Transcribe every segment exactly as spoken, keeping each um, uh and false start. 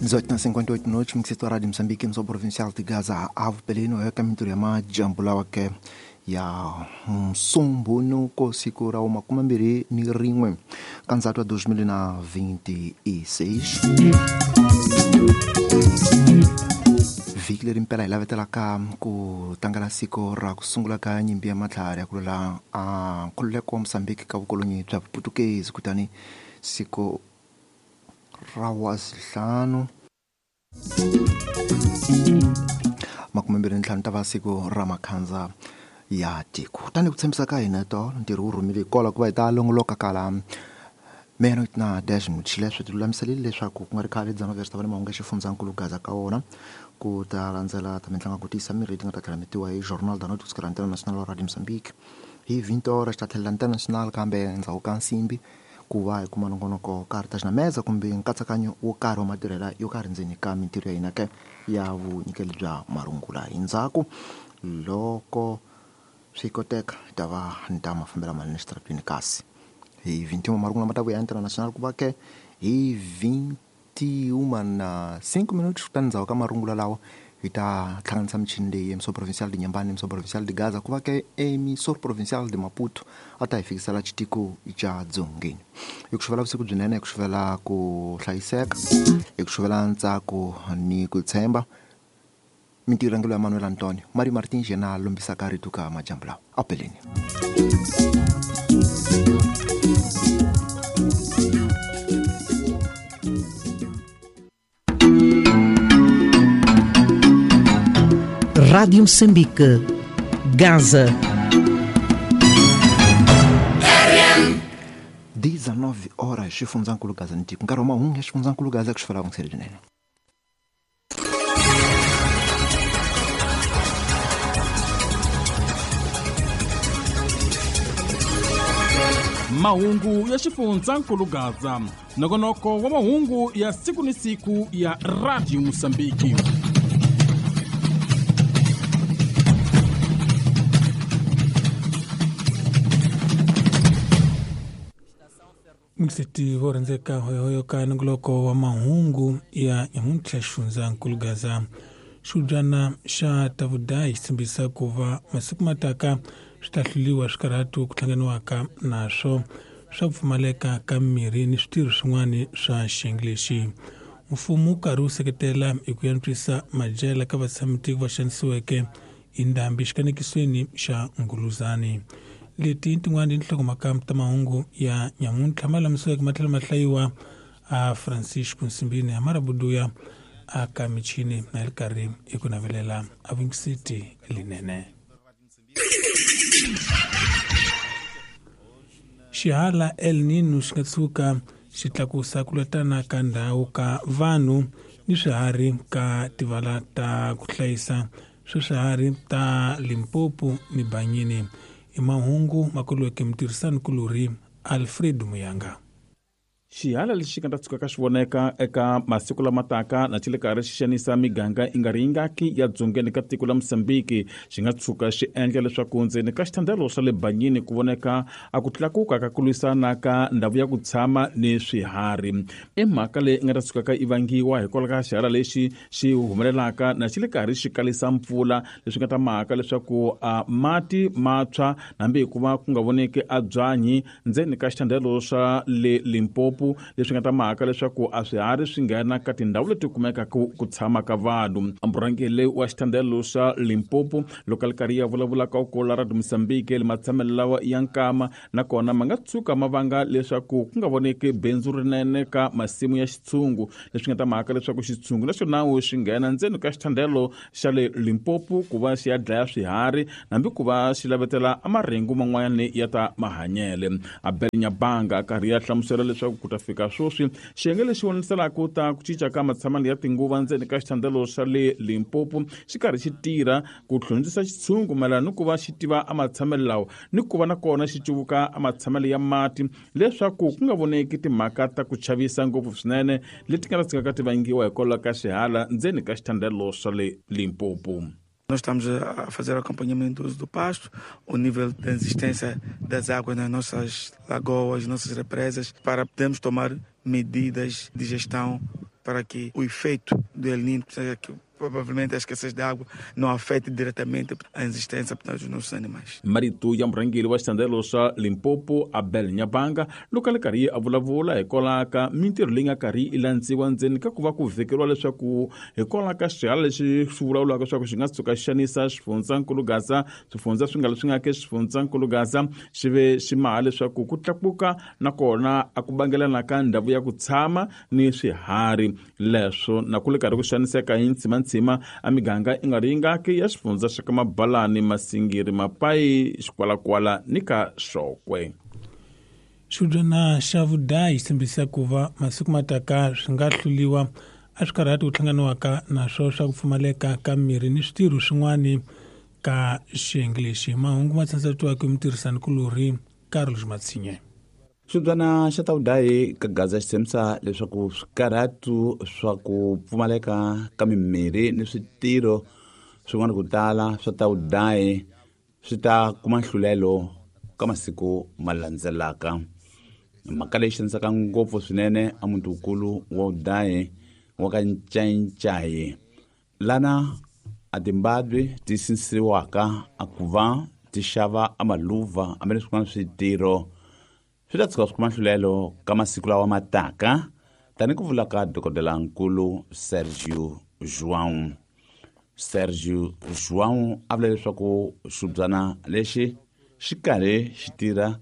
dezoito na cinquenta e oito minutos, mixito Rádio Moçambique, emissão provincial de Gaza, Avo Pelino, é caminho ya majambu lawa ke ya msumbunuko siku ra makumi mambirhi ni rin'we ka ndzhato wa dois mil na vinte e seis. Vhiki leri mpela hi lavetelaka ku tlangela siku ra ku sungula ka nyimpi ya matlhari ya ku lwela a nkhululeko wa Mozambique ka vukolonyi bya Vuputukezi, kutani siku ra wazihlanu makume mbirhi ntlhanu ta va siku ra makhandza ya tiko. Kutani ku tshembisa ka hina tolo ntirho wu rhumile kwala ku va hi ta longoloka kala meno na dash muchile swi tilulamiselile leswaku ku nga ri khale dzana verse ta va ni mahungu ya xifundzankulu Gaza ka wona ku ta landzela ta mitlangu ku tiyisa mirhi ti nga ta tlhela mi tiwa hi Jornal da Noite kusukela International wa Radio Mozambique hi vinte horas ta tlhelela International kambe endzhaku ka nsimbi ku va hi kuma nongonoko karhi ta xinameza kumbe nkatsakanyo wo karhi wa matirhela yo karhi ndzeni ka mintirho ya hina ke ya vunyikeli bya marungula. Hi ndzhaku loko swi koteka hi ta va ni ta mafambela manene xitaratweni kasi hi vinte e um marungula ma ta vuya International ku va ke hi vinte e um na cinco minutos kutani ndzhaku ka marungula lawa hi ta hlanganisa michini leyi emissão provincial de Inhambane, emissão provincial de Gaza ku va ke emissão provincial de Maputo a ta hi fikisela xitiko xa Dzongeni. Hi ku xuvela vusiku byinene, hi ku xuvela ku hlayiseka, hi ku xuvela ntsako ni ku tshemba. Mintirho ya Manuel Antonio Mario Martins yena a lombisaka rito ka majambu lawa a peleni. Rádio Moçambique, Gaza. dezenove horas, xifundzankulu Gaza ni tiko. Nkarhi wa mahungu ya xifundzankulu Gaza ku xifela vungiseri byinene. Mahungu ya xifundzankulu Gaza, nongonoko wa mahungu ya siku ni siku ya Radio Mozambique. Mixiti vo rhandzeka hoyohoyo ka nongoloko wa mahungu ya nyamuntlha xifundzankulu Gaza. Xibyana xa Tavudayi xi tshembisa ku va masiku mataka swi ta hluriwa swikarhatu ku hlanganiwaka naswo swa ku pfumaleka ka mirhi ni switirho swin'wana swa xiyenge lexi. Mfumo wu karhi wu seketela hi ku antswisa madyela ka vatshamitiko va xanisiweke hi ndhambi xikanekisweni xa Nguluzani. Leti tin'wana i tinhlokomhaka ta mahungu ya nyamuntlha ma lamisiweke ma tlhela ma hlayiwa a Francisco Nsimbini a Marabuduya a ka michini na ri karhi hi ku navelela a vungisiti linene. Xihala El Nino xi nga tshuka xi tlakusa ku lwetana ka ndhawu ka vanhu ni swiharhi ka tivala ta ku hlayisa swa swiharhi ta Limpopo ni Banyini. I mahungu makulweke mutirhisani kulori Alfred Muyanga. Xihala lexi nga ta tshuka xi voneka eka masiku lama taka na xi le karhi xi xanisa miganga yi nga ri yingaki ya dzongeni ka tiko la Mozambique xi nga tshuka xi endla leswaku ndzeni ka xithandelo xa le Banyini ku voneka a ku tlakuka ka ku lwisana ka ndhawu ya ku tshama ni swiharhi. I mhaka leyi nga ta tshukaka yi vangiwa hikwalaho ka xihala lexi xi humelelaka na xi le karhi xi kalisa mpfula, leswi nga ta mhaka leswaku a mati ma tshwa hambi hikuva ku nga voneki a byanyi ndzeni ka xithandelo xa le Limpopo, leswi nga ta mhaka leswaku a swiharhi swi nghena ka tindhawu leti kumekaka ku tshama ka vanhu. Murhangeri wa xithandelo xa Limpopo loko a ri karhi ya vulavula ka ku la Radio Mozambique le matshamelo lawa ya nkama nakona ma nga tshuka ma vanga leswaku ku nga voneki bindzu rinene ka masimu ya xitshungu, leswi nga ta mhaka leswaku xitshungu naxona xi nghena ndzeni ka xithandelo xa le Limpopo ku va xi ya dlaya swiharhi hambi ku va xi lavetela amarengu man'wanyana ya ta mahanyele. Abel Nyabanga a karhi ya hlamusela leswaku ku ta fika sweswi xiyenge lexi voniselaka ta ku cinca ka matshamelo ya tinguva ndzeni ka xithandelo xa le Limpopo xi karhi xi tirha ku hlondzisa xitshungu mayelana ni ku va xi tiva amatshamelo lawa ni ku va nakona xi cuvuka amatshamelo ya mati leswaku ku nga voneki timhaka ta ku chavisa ngopfu swinene leti nga ta tshikaka ti vangiwa hikwalaho ka xihala ndzeni ka xithandelo xa le Limpopo. Nós estamos a fazer acompanhamento do uso do pasto, o nível de resistência das águas nas nossas lagoas, nossas represas, para podermos tomar medidas de gestão para que o efeito do El Niño, seja que provavelmente a escassez de água, não afete diretamente a existência dos nossos animais. Marito ya murhangeri wa xitandelo xa Limpopo Abel Nyabanga loko a li karhi a vulavula hikwalaho ka mintirho leyi nga karhi yi landziwa ndzeni ka ku va ku vhekeriwa leswaku hikwalaho ka xihala lexi swi vulavulaka leswaku xi nga tshuka xi xanisa xifundzankulu Gaza, swifundza swi nga leswi nga ke xifundzankulu Gaza xi ve xi maha leswaku ku tlakuka nakona a ku bangelana ka ndhawu ya ku tshama ni swiharhi leswo na ku le karhi ku xaniseka hi ntshimantsima a miganga i nga ri yingaki ya xifundza xa ka Mabalani, Masingiri, Mapai, Xikwalakwala ni ka Xokwe. Xibyana xa vudayi xi tshembisa ku va masiku mataka swi nga hluliwa a swi karhati ku hlanganiwaka naswo swa ku pfumaleka ka mirhi ni switirho swin'wani ka xiyenge lexi. Mahungu ma tsandzatiwaka hi mutirhisanikulorhi Carlos Matsinye. Xibyana xa tawudayi ka Gaza xi tshembisa leswaku swikarhatu swa ku pfumaleka ka mimirhi ni switirho swin'wana ku tala swa tawudayi swi ta kuma nhlulelo ka masiku ma landzelaka. Mhaka leyi xanisaka ngopfu swinene a muti-wukulu wa Udayi wa ka Ncayicayi, lana a timbabwi ti sinisiwaka a ku va ti xava a maluva hambi leswi swin'wana switirho swi ta tshuka swi kuma nhlulelo ka masiku lawa ma taka, tani ku vula ka dokodelankulu Sergio João. Sergio João a vula leswaku xibyana lexi xi karhi xi tirha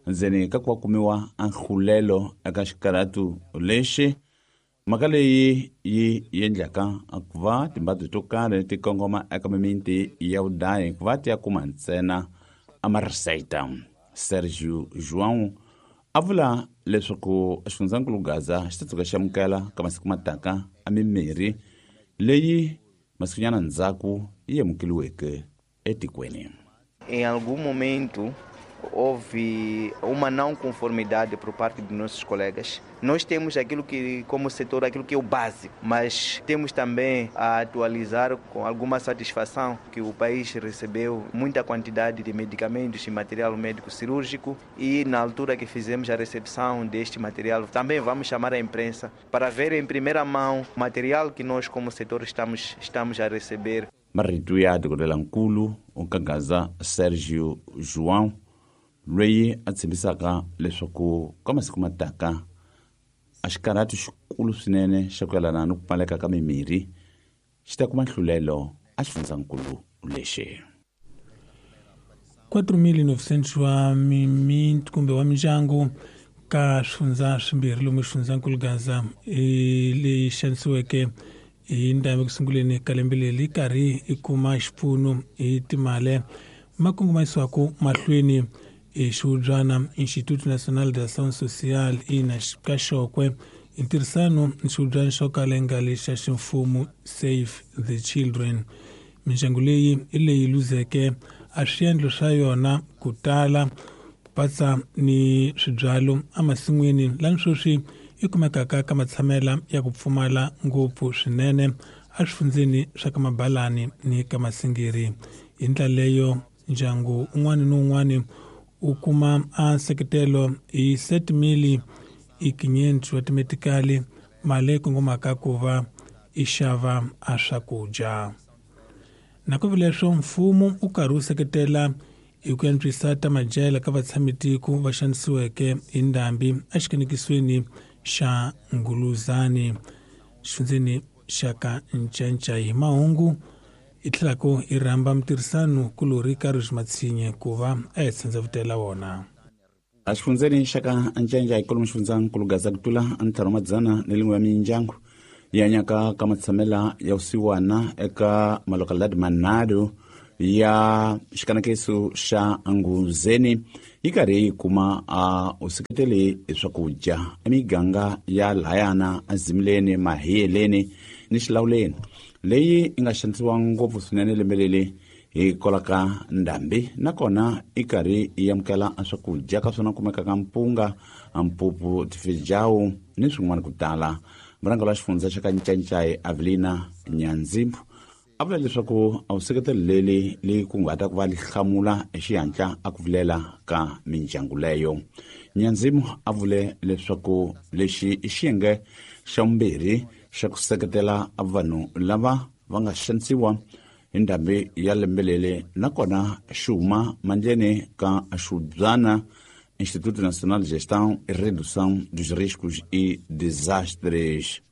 ndzeni ka ku va kumiwa a nhlulelo eka xikarhatu lexi. Mhaka leyi yi endlaka ku va timbabyi to karhi ti kongoma eka mimiti ya Udayi ku va ti ya kuma ntsena a marisayita. Sergio João a vula leswaku xifundzankulu Gaza xi ta tshuka xi amukela ka masiku mataka a mimirhi leyi masikunyana ndzhaku yi amukeliweke etikweni. Em algum momento houve uma não conformidade por parte dos nossos colegas. Nós temos aquilo que, como setor, aquilo que é o básico, mas temos também a atualizar com alguma satisfação que o país recebeu muita quantidade de medicamentos e material médico cirúrgico e na altura que fizemos a recepção deste material, também vamos chamar a imprensa para ver em primeira mão o material que nós como setor estamos, estamos a receber. Marito ya dokodelankulu ka Gaza Sergio João loyi a tshembisaka leswaku ka masiku mataka a xikarhatu xikulu swinene xa ku yelana ni ku pfumaleka ka mimirhi xi ta kuma nhlulelo a xifundzankulu lexi. quatro mil e novecentos wa mimiti kumbe wa mindyangu ka swifundza swimbirhi lomu xifundzankulu Gaza leyi xanisiweke hi ndhambi kusunguleni ka lembe leri yi karhi yi kuma xipfuno hi timali ma kongomisiwaka mahlweni hi xihubyana Instituto Nacional de Ação Social ina ka Xokwe hi ntirhisano ni xihubyana xo kala yi nga lexa ximfumo Save the Children. Mindyangu leyi hi leyi luzeke a swiendlo swa yona ku tala ku patsa ni swibyalo emasin'wini lani sweswi yi kumekaka ka matshamela ya ku pfumala ngopfu swinene eswifundzeni swa ka Mabalani ni ka Masingiri. Hi ndlela leyo ndyangu un'wana ni un'wana u kuma a nseketelo hi sete mil e quinhentos wa timetikali mali leyi kongomaka ku va i xava a swakudya. Nakambe leswo mfumo u karhi wu seketela hi ku antswisa ta madyela ka vatshamitiko va xanisiweke hi ndhambi exikanekisweni xa Nguluzani xifundzeni xa ka Ncayicayi. Hi mahungu hi tlhelaku hi rhamba mutirhisano kulorhi Carlos Matsinye ku va a hi tshandzavutela wona. A xifundzeni xa ka Ncayicayi kwalomu xifundzankulu Gaza ku tlula ntlhanu wa madzana ni lin'we ya mindyangu yi hanyaka ka matshamela ya vusiwana eka malokaladi manharhu ya xikanakiso xa Nguzeni yi karhi yi kuma a u seketeli hi swakudya emiganga ya layana Azimleni, Mahiyeleni ni Xilawuleni leyi yi nga xanisiwa ngopfu swinene lembe leri hikwalaho ka ndhambi, nakona yi karhi yi amukela swakudya ka swona kumekaka mpunga, mpupu, tifejawu ni swin'wana ku tala. Murhangeri wa xifundza xa ka Ncayicayi Avelina Nyanzimbu a vula leswaku a wu seketelo leri leyi kunguhata ku va li hlamula hi xihatla a ku vilela ka mindyangu leyo. Nyanzimu a vule leswaku lexi i xiyenge xa vumbirhi xa ku seketela vanhu lava va nga xanisiwa hi ndhambi ya lembe leri nakona xi huma mandleni ka Xubyana Instituto Nacional de Gestão e Redução dos Riscos e Desastres.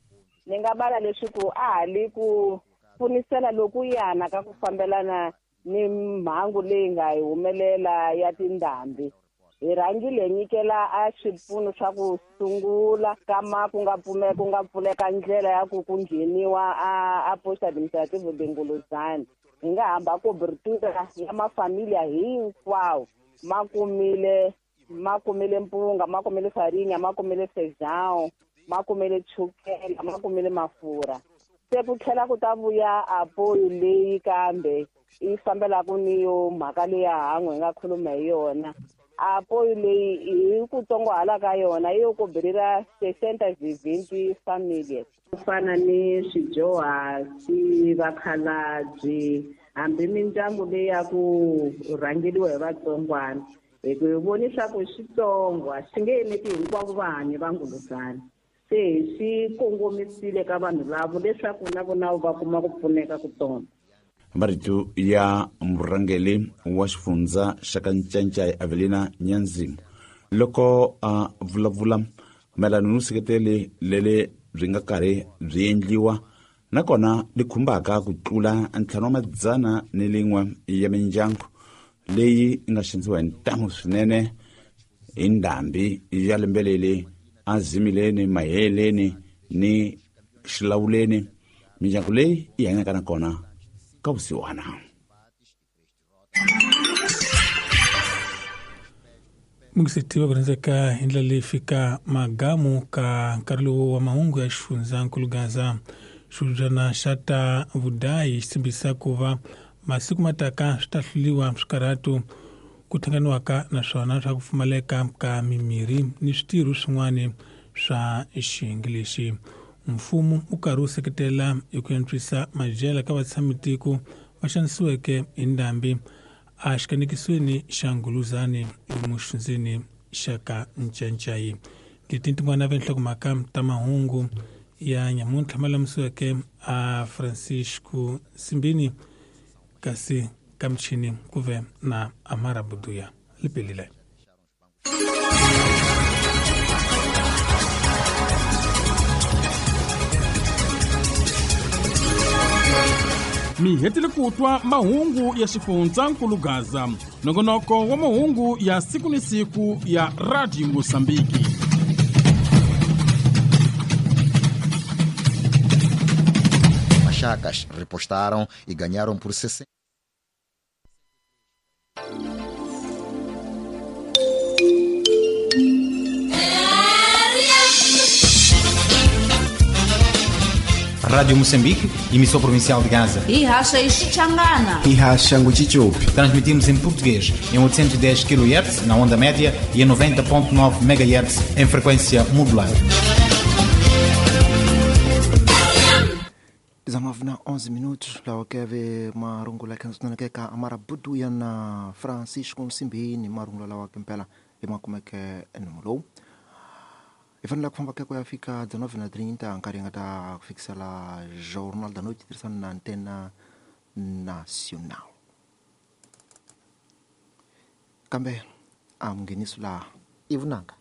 Ni nga bala leswaku a ha li ku pfunisela lokuyana ka ku fambelana ni mhangu leyi nga hi humelela ya tindhambi. Hi rhangile hi nyikela a swipfuno swa ku sungula kama ku nga pfumeka ku nga pfuleka ndlela ya ku ku ngheniwa a a posta administrative de Nguluzana. Hi nga hamba cobertura ya mafamilia hinkwawo ma kumile ma kumile mpunga, ma kumile farinha, ma kumile feijão, ma kumile chukela, ma kumile mafurha. Se ku tlhela ku ta vuya apoyo leyi kambe yi fambelaka ni yo mhaka leya han'we hi nga khuluma hi yona. Apoyo leyi hi ku tsongohala ka yona yi yo koberira sessenta e vinte famílias. Ku fana ni swidyuhasi, vakhalabye, hambi mindyangu leyi ya ku rhangeriwa hi vatsongwana. Hi ku hi voni swa ku xitsongo a xi nge eneti hinkwavo vahanyi va Nguluzana. Se hi xi kongomisile ka vanhu lavo leswaku na vona va kuma ku pfuneka kutsongo. Marito ya murhangeri wa xifundza xa ka Ncancai Avelina Nyanzimu loko a vulavula mayelana ni vuseketeli leri byi nga karhi byi endliwa nakona li khumbaka ku tlula ntlhanu wa madzana ni lin'we ya mindyangu leyi yi nga xanisiwa hi ntamu swinene hi ndhambi ya lembe leri a Zimileni, Maheleni ni Xilawuleni. Mindyangu leyi yi hanyaka nakona ka vusiwana. Mungisetiwa ku rhandzeka hi ndlela leyi fika magamu ka nkarhi lowu wa mahungu ya xifundzankulu Gaza. Xibyana xa ta vudayi xi tshembisa ku va masiku mataka swi ta hluriwa swikarhatu ku thanganiwaka naswona swa ku pfumaleka ka mimirhi ni switirho swin'wana swa xiyenge lexi. Mfumo wu karhi wu seketela hi ku antswisa madyela ka vatshamitiko va xanisiweke hi ndhambi a xikanekisweni xa Nguluzani emuxindzeni xa ka Ncancai. Leti tin'wana va nhlokomhaka ta mahungu ya nyamuntlha ma lamisiweke a Francisco Simbini, kasi ka michini ku ve na Amara Buduya. Lipelile. Mi hetile ku twa mahungu ya xifundzankulu Gaza, nongonoko wa mahungu ya siku ni siku ya Radio Mozambique. Machacas repostaram e ganharam por sessenta. Rádio Moçambique, emissão provincial de Gaza. E racha Xichangana. E racha Nguchichupi. Transmitimos em português em oitocentos e dez quilohertz na onda média e em noventa ponto nove megahertz em frequência modulada. dezenove na onze minutos, lawa keve marungula khansana ke ka Amara Buduya na Francisco Simbini marungula lawa kempela emakumeke enomolo. I fanele ku famba ku ya fika dezenove na trinta nkarhi nga ta fikisela Jornal da Noite tirhisana na Antena Nacional. Kambe a mungheniso laha i vunanga.